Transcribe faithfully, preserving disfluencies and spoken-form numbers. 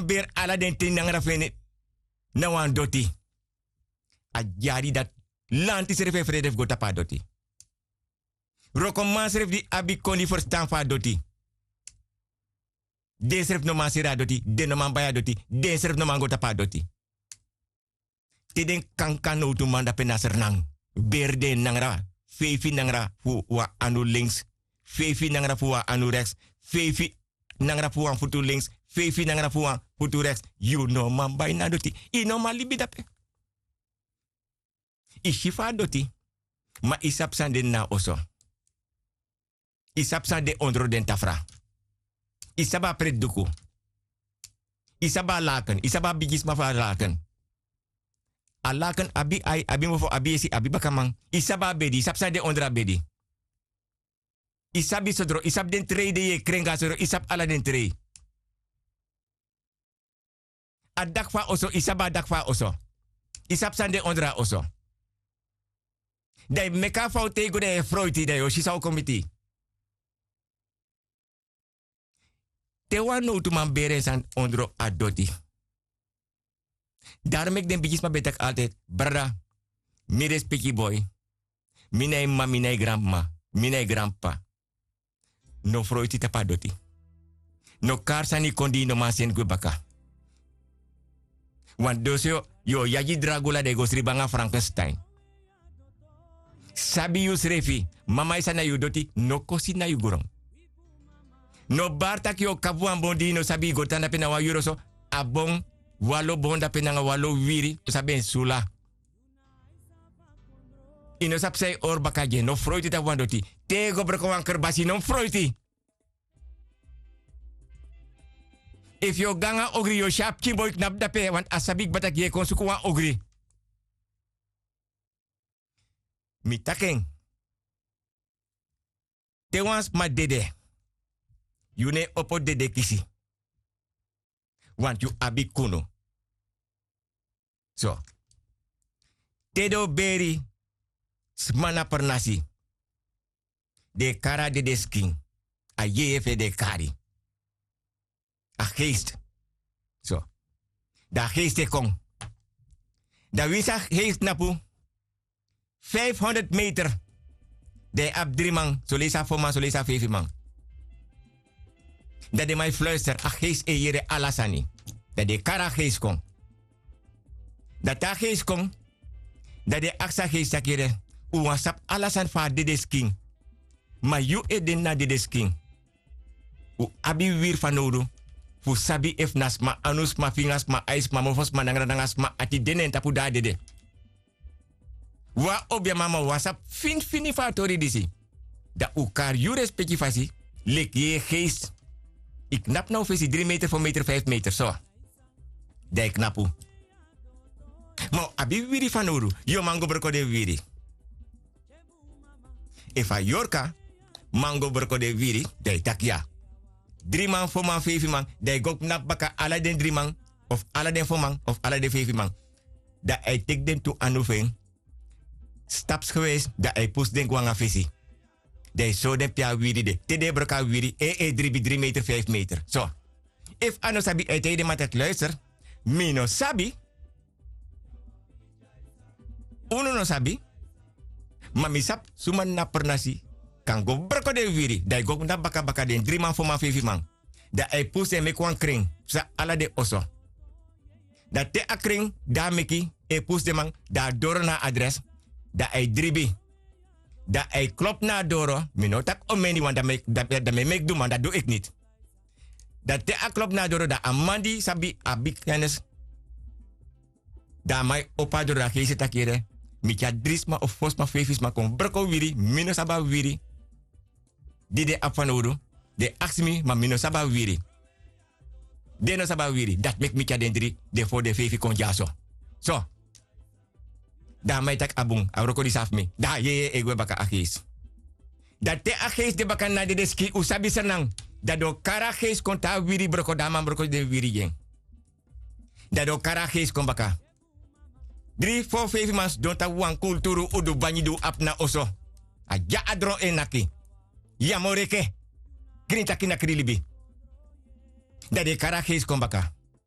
beri ala den ten nangra fu en na wan doti. A dyari dati lanti srefi e frede fu go tapu a doti. Wrokoman srefi di abi koni ferstan fu a doti, den srefi no man seri a doti, den no man bai a doti, den srefi no man go tapu a doti. Te den kankan nowtuman dape na srnan, beri den nangra, feifi nangra fu wan anu links, feifi nangra fu wan anu reks, feifi nangra fu wan futu links, feifi nangra fu wan futu reks. Yu no man bai na doti, yu no man libi dape. Yu si fu a doti, ma yu sabi san de na a oso. Yu sabi san de ondro den tafra. Yu sabi a preti duku. Yu sabi a laken, yu sabi a bigisma fu a laken. A laken abi ai, abi mofo, abi esi, abi bakaman. Yu sabi a bedi, yu sabi san de ondro a bedi. Yu sabi sodro, yu sabi den trei de yu e kren go na sodro, yu sabi ala den trei. A daki fu a oso, yu sabi a daki fu a oso. Yu sabi san de ondro a oso. Dan yu meki a fowtu te yu go dan yu e froiti dan yu o si san o kon miti yu. Te wan nowtuman beri en sani ondro a doti. Daro meki den bigisma ben taki altide, brada, mi respeki boi. Mi na yu m'ma, mi na yu granm'ma, mi na yu granp'pa. No froiti tapu a doti. No kari sani kon di yu no man seni gwe baka. Wan doso yu o yagi dragula dan yu go sribi nanga frankenstein. Sabi yusrefi, mama e sani na yu doti, no kosi na yu gron. No bari tak' yu o kapu wan bon di yu no sabi, yu go tan dape na wan yuru oso, a bon, wan lo bon dape nanga wan lo wiwiri, no sabi en sula. Yu no sabi san yu hori baka gi en, no froiti tapu wan doti. Te yu go broko wan kerbasi, no mus froiti. Efu yu o go nanga ogri, yu o si a pikin boi knapu dape, want a sabi kba tak' yu e kon suku wan ogri. Mi taki en. Te wan sma dede, yu no e opo dede kisi. Want yu abi kunu. So, te den o beri sma na pernasi, den e kari a dede skin, a yeye fu en den e kari. A geest. So, dan a geest e kon. Dan winsi a geest knapu vijfhonderd meter, dan yu abi dri man, soleisi a fo man, soleisi a feifi man. Dan den man e fluister, a geest e yere ala sani. Dan den e kari a geest kon. Dan te a geest kon, dan den e aksi a geest taki: Yere, un wani sabi ala sani fu a dede skin. Ma yu ede na dede skin. Un abi wiwiri fanowdu fu sabi efu na sma anu, sma finga, sma ai, sma mofo, sma nangra nanga sma ati de na en tapu, dan a dede. Wan obiaman, ma un wani sabi finifini fu a tori disi. Dan un kari yu respeki fasi, leki yu e geest. Yu knapu na un fesi dri meter, fo meter, feifi meter, so. Dan yu knapu. Ma un abi wiwiri fanowdu, yu o man go broko den wiwiri. Efu a yorka man go broko den wiwiri, dan yu taki ya. Dri man, fo man, feifi man, dan yu go knapu baka ala den dri man, of ala den fo man, of ala den feifi man. Dan a e teki den tu anu fu en, stapsgewijs, dan a e pusu den go nanga fesi. Dan yu sori den pe a wiwiri de. Te den e broko a wiwiri, en e dribi dri meter, feifi meter. So. Efu a no sabi, a e taigi den man taki: Luister, mi no sabi. Unu no sabi. Ma mi sabi suma na pernasi kan go broko den wiwiri. Dan yu go na baka baka den dri man, fo man, feifi man. Dan a e pusu en meki wan krin, psa ala den oso. Dan te a krin di a meki e pusu den man, dan a doro na a adres, dan a e dribi. Dan a e klopu na a doro, mi no taki omeni wan, dan mi e, dan, dan mi e meki du man, dan du eki niti. Dan te a klopu na a doro, dan a man di sabi, abi kennis. Dan a man e opo a doro, dan a geest e taki: Yere, mi tyari dri sma of fo sma, feifi sma kon broko wiwiri, mi no sabi a wiwiri. Di den abi fanowdu, den aksi mi, ma mi no sabi a wiwiri. Den no sabi a wiwiri, dati meki mi tyari den dri, den fo, den feifi kon dyaso. So. Dan a man e taki: A bun, a wroko disi na fu mi. Dan a yeye e gwe baka, a geest. Dan te a geest de baka na dede skin, un sabi srnan. Dan den o kari a geest kon te a wiwiri broko, dan a man broko den wiwiri gi en. Dan den o kari a geest kon baka. Dri, fo, feifi man sidon tapu wan kulturu, un du bangi di un abi na oso. A dya a dron e naki. Yu a moro enke. Grin taki na krin libi. Dan den e kari a geest kon baka.